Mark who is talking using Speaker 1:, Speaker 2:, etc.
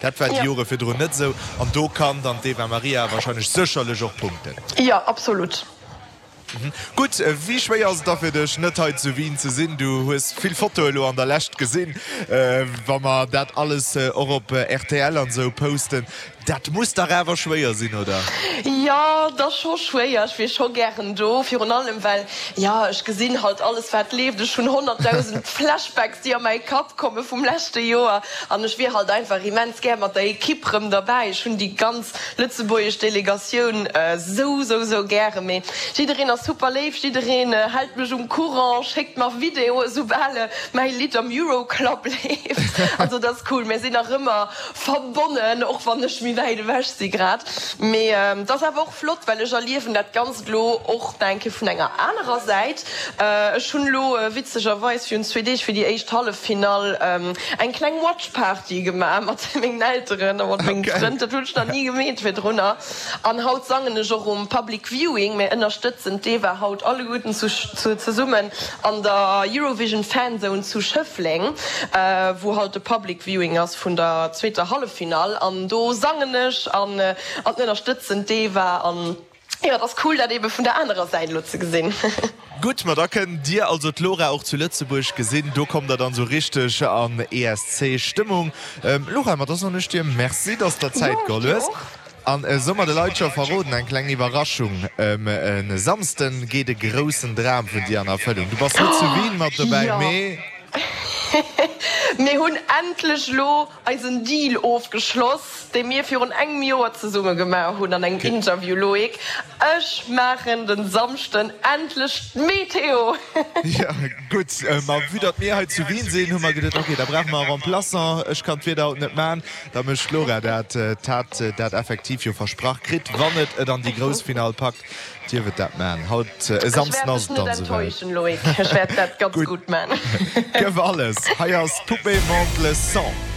Speaker 1: Dat war déi Jore virdrun net esou. An do kann dann d'Eva Marija warscheinlech sécherlech och punkten.
Speaker 2: Jo, absolut.
Speaker 1: Gutt, wéi schwéier ass et da fir dech, net hei zu Wien ze sinn? Du hues vill Fotoe elo an der Lescht gesinn. Wa mer dat alles och op rtl an esou posten, dat muss dach awer schwéier sinn, oder?
Speaker 2: Jo, et ass scho schwéier. Ech wier scho gären do, virun allem well, jo, ech gesinn halt alles wat leeft. Ech hunn 100.000 Flashbacks, déi a mäi Kapp komme vum leschte Joer an ech wier halt einfach immens gär mat der Ekipp rëm derbäi. Ech hunn déi ganz Lëtzebuergesch Delegatioun sou sou sou gären, mee jiddereen ass super léif, jiddereen hält mech um Courant, schéckt mer Videoe soubal mäi Lidd am Euroclub leeft. Also dat ass cool, mir sinn nach ëmmer verbonnen, och wann ech méi wäit ewech si grad. Mee et ass awer och flott, well ech erliewen dat Ganzt elo och nach eng Kéier vun enger anerer Säit. Ech hunn elo witzegerweis virun zwee Deeg fir déi éischt Halleffinall eng kleng Watch Party gemaach mat mengen Elteren a mat mengem Frënd. Dat hunn ech nach ni gemeet virdrunner. An haut sangen ech och um Public Viewing. Mir ënnerstëtzen d'Eva haut alleguerten zesummen an der Eurovision Fan Zone zu Schëffleng, wou halt de Public Viewing ass vun der zweeter Halleffinall. An do sangen ech an ënnerstëtzen d'Eva. Jo, et ass cool dat ebe vun der anerer Säit elo ze gesinn.
Speaker 1: Gutt, ma da kënnt Dir also d'Laura och zu Lëtzebuerg gesinn. Do kommt der dann sou richteg an ESC-Stëmmung. Laura, ma da soen ech dir Merci, dass der Zäit geholl hues. An soe mer de Leit scho verroden, eng kleng Iwwerraschung, E Samsden geet e groussen Dram vun dir an Erfëllung. Du bass net zu Wien mat dobäi, mee.
Speaker 2: Mir hunn endlech elo eisen Deal ofgeschloss, dee mir virun engem Joer zesumme gemaach hunn an engem Interview, Loïc. Ech maachen den Samschden endlech d'Meteo!
Speaker 1: Jo, gutt. Ma vue datt mir hei zu Wien sinn, hu mer geduet, ok, da brauche mer e Remplaçant. Ech kann d'Wieder haut net man, da mécht d'Laura dat. D'hat dat effektiv jo versprach kritt, wann et et an déi grouss Finall packt. Dierf et dat man. Haut e Samsden ass et dann
Speaker 2: esouwäit. Loïc, ech wäert dat ganz gutt man.
Speaker 1: Gëff alles, hei ass d'Poupée Monte le sang.